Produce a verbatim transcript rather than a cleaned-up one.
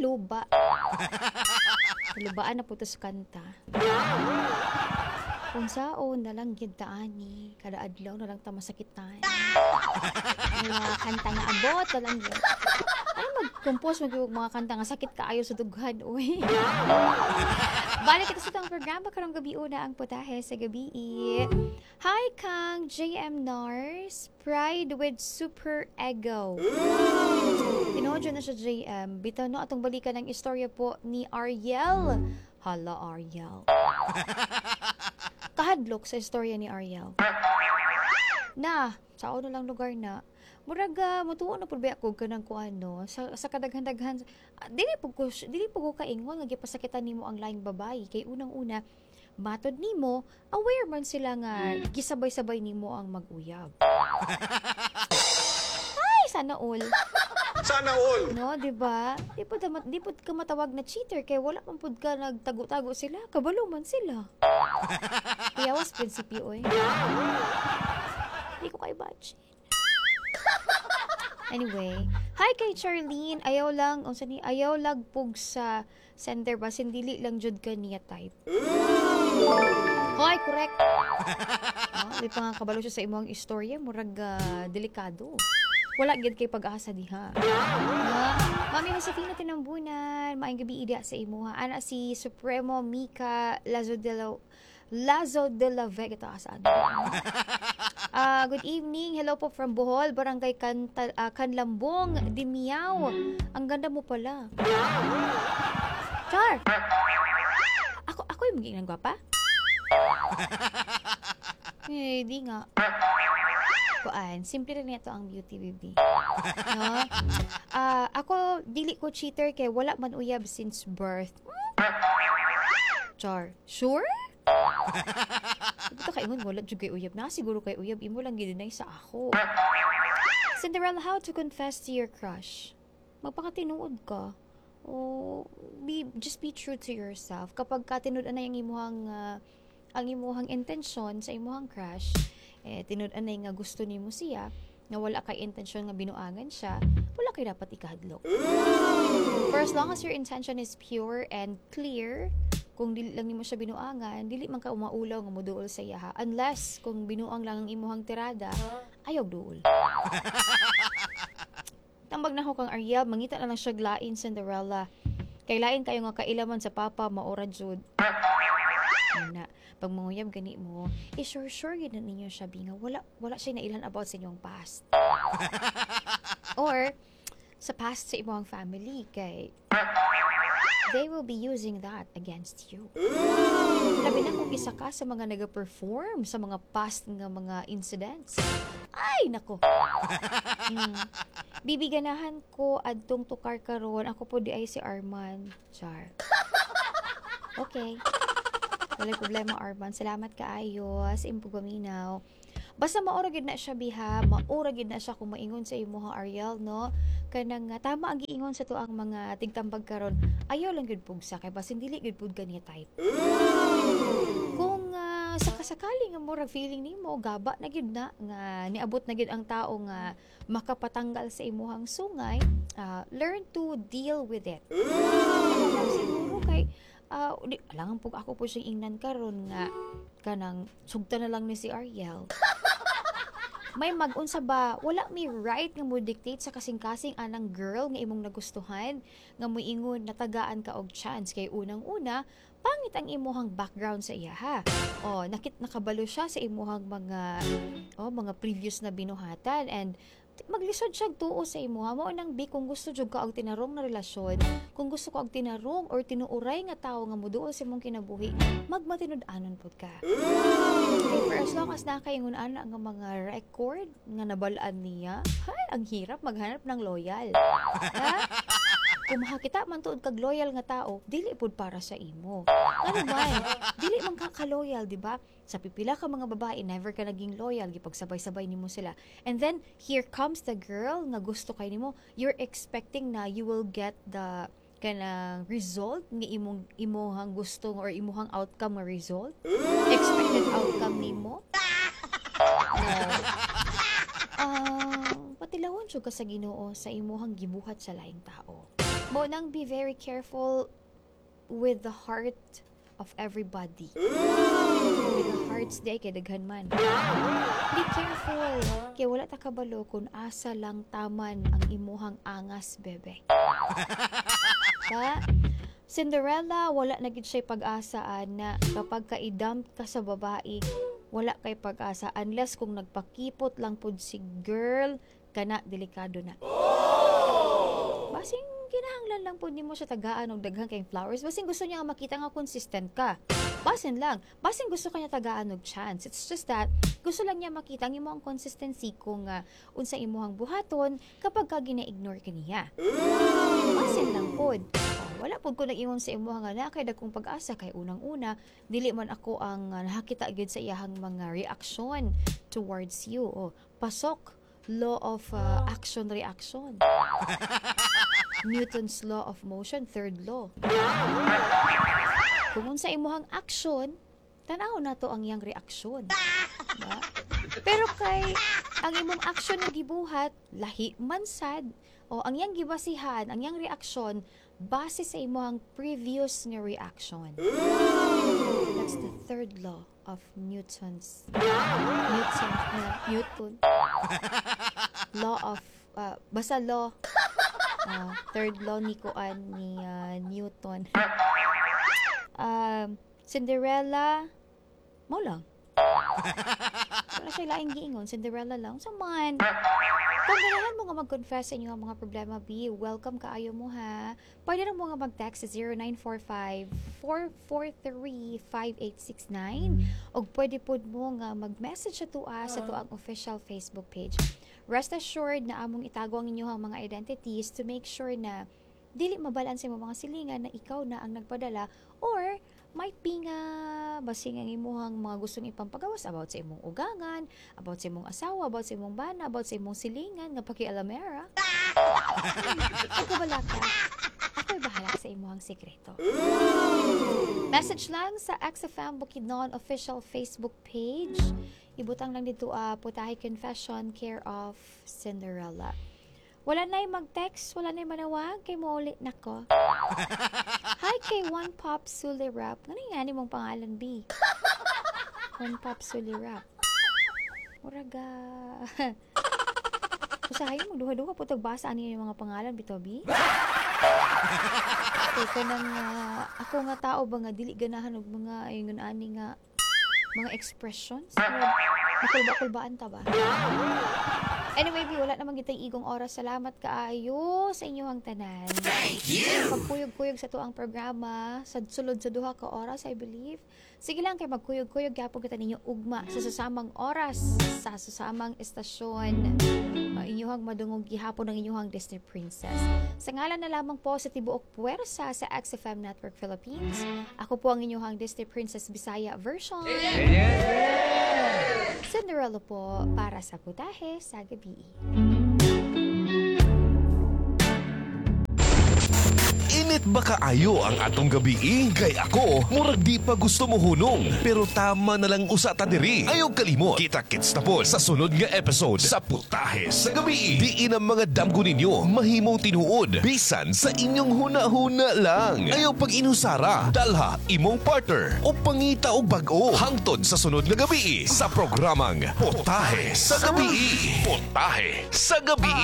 Luba. Lubaan na po to sa kanta. Kung saon na lang gyud ta ani, kada adlaw na lang ta masakitan. Mga kanta nga abot na lang gyud. Ay, mag-compose mag mga kanta nga sakit kaayo sa dughan, uy. Balik kita sa itong programa karong gabi, una ang putahe sa gabi. Hi Kang J M Nars, Pride with Super Ego. Tinuod na siya, J M. Bitaw no, atong balikan ang istorya po ni Ariel. Hala, Ariel. Kahadlok sa istorya ni Ariel. Na, sa ano lang lugar na, murag uh, mutuo na pud ba ako kanang kuan no sa, sa kadaghan-daghan, ah, dili pud ko dili pud ko kaingon nga gipasakitan nimo ang laing babae kay unang-una, matod nimo, aware man sila nga gisabay-sabay nimo ang mag-uyab. Ay, sana all. Sana all. No, di ba? Di pud di pud ka matawag na cheater kay wala man pud ka nagtago-tago sila, kabalo man sila. Kuyawas prinsipyo oy. Di ko kay imagine. Anyway, hi kay Charlene. Ayaw lang, unsa ni, ayaw lag pug sa sender basin dili lang jud ka niya type. Hoy, correct. No, di pa nga kabalo siya sa imong istorya, murag ah, delikado. Wala gyud kay pag-asa diha. No? Mami Josefina Tinambunan, maayong gabi ida sa imuha. Ana si Supremo Mika Lazo de la Lazo de la Vega ito asa. Ah, good evening. Hello po from Bohol, Barangay Kanta, ah, Kanlambong, Dimiao. Ang ganda mo pala. Char. Ako ako yung magiging gwapa? Eh, di nga. Kuan, simple rin ito ang beauty, baby. No? Ah, ako dili ko cheater kay wala man uyab since birth. Char. Sure? Ito kaingon wala jud kay uyab na siguro kay uyab, imo lang gideny sa ako. Cinderella, how to confess to your crush? Magpakatinuod ka. O be just be true to yourself. Kapag ka tinud-an na yung imuhang ah, ang imuhang intensyon sa imuhang crush, eh tinud-an na nga gusto nimo siya, nga wala kay intensyon nga binuangan siya, wala kay dapat ikahadlok. For as long as your intention is pure and clear, kung dili lang nimo siya binuangan, dili man ka umaulaw nga moduol sa iyaha. Unless kung binuang lang ang imuhang tirada, ayaw duol. Tambag na ko kang Ariel, mangita na lang siya lain, Cinderella. Kay lain kayo nga kailaman sa papa, maora jud. Ana, pag manguyab gani mo, eh sure sure gyud na ninyo siya bi nga wala wala siya nailhan about sa inyong past. Or sa past sa imong family kay they will be using that against you. Labi na kung isa ka sa mga naga-perform sa mga past nga mga incidents. Ay, nako. Mm. Bibiganahan ko adtong tukar karon. Ako po di ay si Arman. Char. Okay. Walay problema, Arman. Salamat kaayo sa imong pagpaminaw. Basta maura gid na siya biha, maura gid na siya kung maingon sa imuha, Ariel, no? Kanang uh, tama ang giingon sa tuang mga tigtambag karon. Ayaw lang gyud pugsa kay basin dili gyud pud kaniya type. Kung uh, sakasakali nga murag feeling nimo gaba na gyud na nga niabot na gyud ang tao nga makapatanggal sa imuhang sungay, uh, learn to deal with it. Ano lang siguro kay uh, di, alangan po ako po siyang ingnan karon nga kanang sugta na lang ni si Ariel. May mag-unsa ba, wala may right nga mo dictate sa kasing-kasing anang girl nga imong nagustuhan nga moingon natagaan ka og chance kay unang-una, pangit ang imuhang background sa iyaha. Oh, nakit nakabalo siya sa imuhang mga oh, mga previous na binuhatan and maglisod siya tuo sa imuha. Mao nang bi, kung gusto jud ka og tinarong na relasyon, kung gusto ka og tinarong or tinuuray nga tawo nga moduol sa imong kinabuhi, magmatinud-anon pud ka. Okay, for as long as nakaingon ana nga mga record nga nabalaan niya, hay, ang hirap maghanap ng loyal. Ha? Kung makakita man tuod kag loyal nga tao, dili pud para sa imo. Ano man, dili man ka ka-loyal, di ba? Sa pipila ka mga babae, never ka naging loyal, gipagsabay-sabay nimo sila. And then, here comes the girl nga gusto kay nimo. You're expecting na you will get the kanang result nga imong imuhang gusto or imuhang outcome nga result. Expected outcome nimo. No. Ah, patilawon jud ka sa Ginoo sa imuhang gibuhat sa laing tao. Mao nang be very careful with the heart of everybody. With the hearts di kay daghan man. Be careful. Kay wala ta kabalo kung asa lang taman ang imuhang angas, bebe. Ba? Cinderella, wala na gid siya pag-asa na kapag ka-idump ka sa babae, wala kay pag-asa unless kung nagpakipot lang pud si girl kana, delikado na. Basing kinahanglan lang pud nimo siya tagaan og daghan kayong flowers. Basing gusto niya nga makita nga consistent ka. Basin lang. Basing gusto kanya tagaan og chance. It's just that gusto lang niya makita ang imong consistency kung uh, unsa imuhang buhaton kapag ka gina-ignore ka niya. Basin lang pod. Oh, wala pod ko nag-ingon sa imuha nga naa kay dagkong pag-asa kay unang-una dili man ako ang uh, nakakita gyud sa iyahang mga reaksyon towards you. Oh, pasok law of uh, action reaction. Newton's law of motion, third law. Kung unsa imuhang action, tan-aw na to ang iyang reaksyon. Diba? Pero kay ang imong action nga gibuhat, lahi man sad, o ang iyang gibasihan, ang iyang reaksyon base sa imong previous nga reaction. That's the third law of Newton's Newton uh, Newton law of uh, basta law, uh, third law ni kuan ni uh, Newton. um, Cinderella mao lang. Wala siya laing giingon, Cinderella lang. So man, kung ganahan mo nga mag-confess sa inyong mga problema, be welcome kaayo mo ha. Pwede lang mo nga mag-text sa zero nine four five, four four three, five eight six nine o pwede pod mo nga mag-message sa tua sa tuang official Facebook page. Rest assured na among itago ang inyong mga identities to make sure na dili mabalaan sa imong mga silingan na ikaw na ang nagpadala or might be nga basing ang imuhang mga gustong ipampagawas about sa imong ugangan, about sa imong asawa, about sa imong bana, about sa imong silingan nga pakialamera. Pagkabala ka, ako'y bahala sa imuhang sikreto. Message lang sa X F M Bukidnon official Facebook page. Ibutang lang dito uh, "Putahe Confession care of Cinderella." Wala na'y mag-text, wala na'y manawag, kay mouli na ko. Hi kay One Pop Sulirap. Ano nga ni mong pangalan, B? One Pop Sulirap. Muraga. Usahay mo, duha-duha po tagbasa ani yung mga pangalan, bitaw, B? Kay kanang uh, ako nga tao ba nga dili ganahan og mga ingon ani nga mga expressions. Makulba-kulbaan ta ba? Anyway, B, wala naman kitang igong oras. Salamat kaayo sa inyong tanan. Thank you! Pagkuyog-kuyog sa tuang programa, sa sulod sa duha ka oras, I believe. Sige lang kay magkuyog-kuyog gyapon kita ninyo ugma sa susamang oras, sa susamang estasyon. Uh, inyuhang madungog gihapon ng inyuhang Disney Princess. Sa ngalan na lamang po sa tibuok puwersa sa X F M Network Philippines, ako po ang inyuhang Disney Princess Bisaya version. Cinderella po para sa Putahe sa Gabi. Init ba kaayo ang atong gabi? Kay ako, murag di pa gusto mo hunong. Pero tama na lang usa ta diri. Ayaw kalimot. Kita-kits na po sa sunod nga episode sa Putahe sa Gabi. Diin ang mga damgo ninyo mahimong tinuod. Bisan sa inyong huna-huna lang. Ayaw pag inusara. Dalha imong partner o pangita og bag-o. Hangtod sa sunod nga gabi sa programang Putahe sa Gabi. Putahe sa Gabi.